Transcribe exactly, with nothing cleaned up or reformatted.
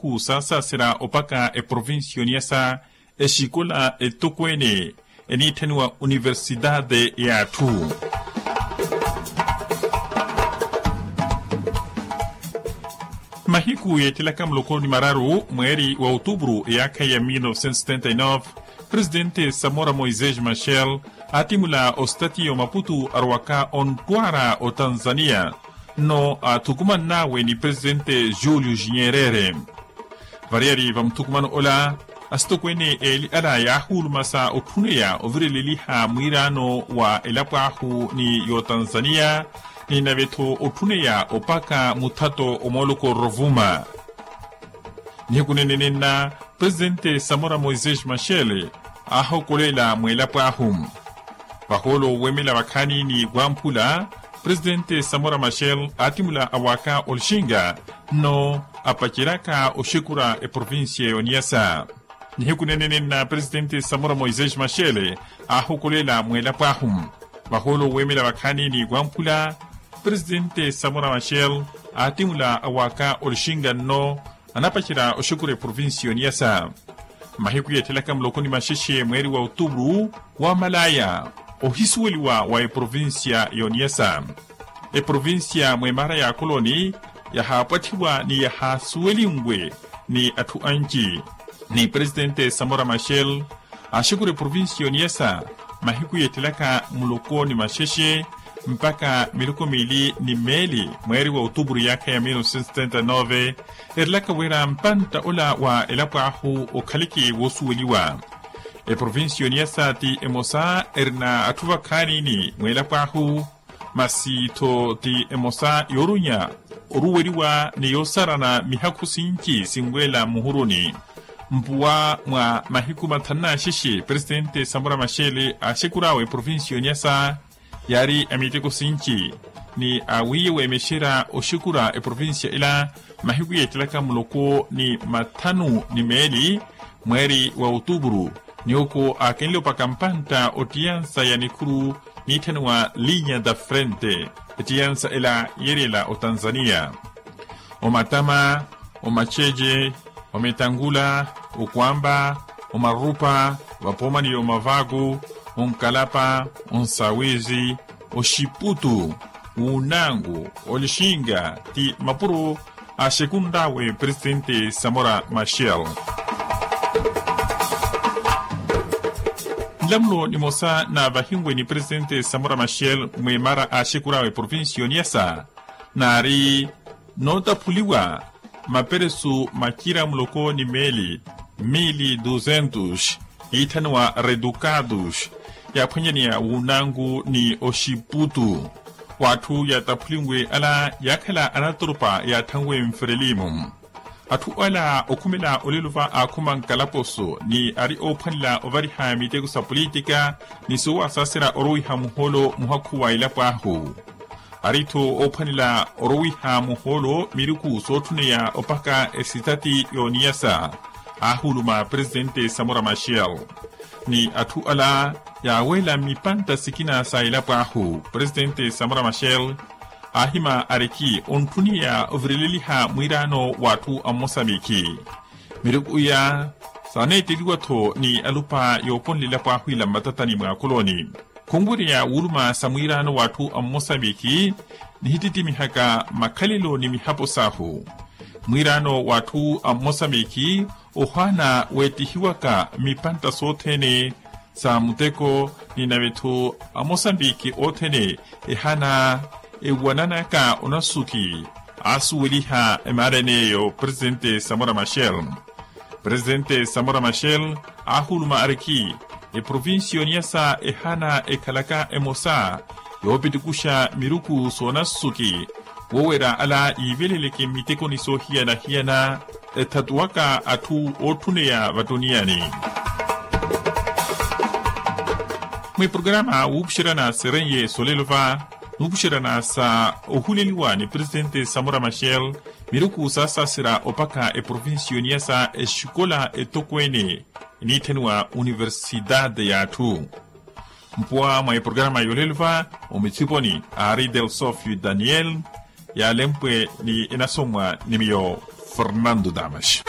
Khusaasasira opaka eprovincia oniyasa exikola etokweene eniitthaniwa universitade y'atthu. Mahiku yeettelaka muloko ni mararu mweeri wa otupuru eyaakha ya mil novecentos setenta e nove, presidente samora moisés machel aatimula ositatiya omaputu arowaka onttwara otanzaniya, nno aathukumann'awe ni presidente julio jinyerere. Variyari va muthukumano ola, asitokweene eeli ala yaahuulumasa otthuneya ovireleliha mwiiraano wa elapo ahu ni y'otanzaniya, ni nave-tho otthuneya opaka muthato omooloko ororuvuma. Nihiku nenenenna, presidente samora moisés machel aahokoleela mweelapo ahu. Vahoolo weemela vakhaani ni wamphula, presidente samora machel aatimula awaaka olixinga, nno apaceryaka oxekura eprovincia y'oniyasa. Nihiku nenenenna presidente samora moisés machel aahokoleela mweelapo ahu. Vahoolo weemela vakhaani ni wamphula, presidente samora machel aatimula awaaka olixinga nno anapacerya oxekura eprovincia y'oniyasa. Mahiku yeettelaka muloko ni maxexe mweeri wa otupuru, wamalaya ohisuweliwa wa eprovincia y'oniyasa. Eprovincia mwemara ya koloni yahaapwatthiwa ni yahaasuwelinwe ni atthu anci. Ni presidente samora machel aaxekura eprovincia y'oniyasa mahiku yeettelaka muloko ni maxexe mpaka miloko miili ni meeli mweeri wa otupuru yaakha ya mil novecentos setenta e nove, erelaka wira mpantta ola wa elapo ahu okhaleke woosuweliwa. Eprovincia y'oniyasa ti emosa erina atthu vakhaani ni mweelapo ahu, masi-tho ti emosa yoorunya oruweliwa ni yoosarana mihakhu sinci sinweela mmuhuruni. Mpuwa mwa mahiku mathanu n'axexe presidente samora machel aaxekur'awe eprovincia y'oniyasa, yaari a miteko sinci ni awiiye weemexerya oxekura eprovincia ila mahiku yeettelaka muloko ni mathanu ni meeli mweeri wa otupuru, ni oko aakenle opaka mpantta ottiyansa ya nikhuru niitthaniwa linya da frente. Ettiyansa ela yeeryela otanzaniya. Omatama, omaceece, omitangula, okwamba, omarupa, vapoomani ya omavaku, onkalapa, onsawizi, oxiputu, wunangu, olixinga ti mapuro aaxekunr'awe presidente samora machel. Nlamulo nimosa naavahiwe ni presidente samora machel mwemara aaxekur'awe provincia y'oniyasa, naari nootaphuliwa maperesu macira muloko ni meeli, mili duzentos, yiitthaniwa reducados, yaaphwanyaneya wunangu ni oxiputu. W'atthu yaataphuliwe ala yaakhala anatoropa yaathanwe mferelimu. Atthu ala okhumela olelo va aakhuma nkalaposo ni ari oophwanela ovariha miteko sa politika ni soowasaserya orowiha muhoolo muhakhu wa elapo ahu. Ari-tho oophwanela orowiha muhoolo miruku sootthuneya opaka esitati y'oniyasa, aahuuluma presidente samora machel. Ni atthu ala yaaweela mmipantta sikina sa elapo ahu presidente samora machel aahima ariki ontthuneya ovireleliha mwiiraano w'atthu a mmosambiki. Miruku iya saaneetteliwa-tho ni alupa yooponela elapo ahu ila mmatatani mwa akoloni. Khunwerya wuuluma sa mwiiraano w'atthu a mmosambiki nihitittimihaka makhalelo ni mihapo sahu. Mwiiraano w'atthu a mmosambiki ohaana weettihiwaka mmipantta sothene sa muteko ni nave-tho amosambiki othene ehaana ewananaka onasuki. Aasuweliha emaara en'eyo presidente samora machel. Presidente samora machel aahuuluma ariki eprovincia y'oniyasa ehaana ekhalaka emosa yoopitikuxa miruku soonasuki woowerya ala yiiveleleke mmitekoni soohiyana-hiyana ethatuwaka atthu ootthuneya vattuniyani. Mwiprokarama wuupuxeryana sereiye solelo va nuupuxeryana sa ohuleliwa ni presidente samora machel miruku saasaserya opaka eprovincia y'oniyasa exikola etokweene eniitthaniwa universitade y'atthu. Mpuwa mwa eprokarama y'olelo va omithiponi aari delsofio daniel yaalempwe ni enasomwa ni miyo fernando damas.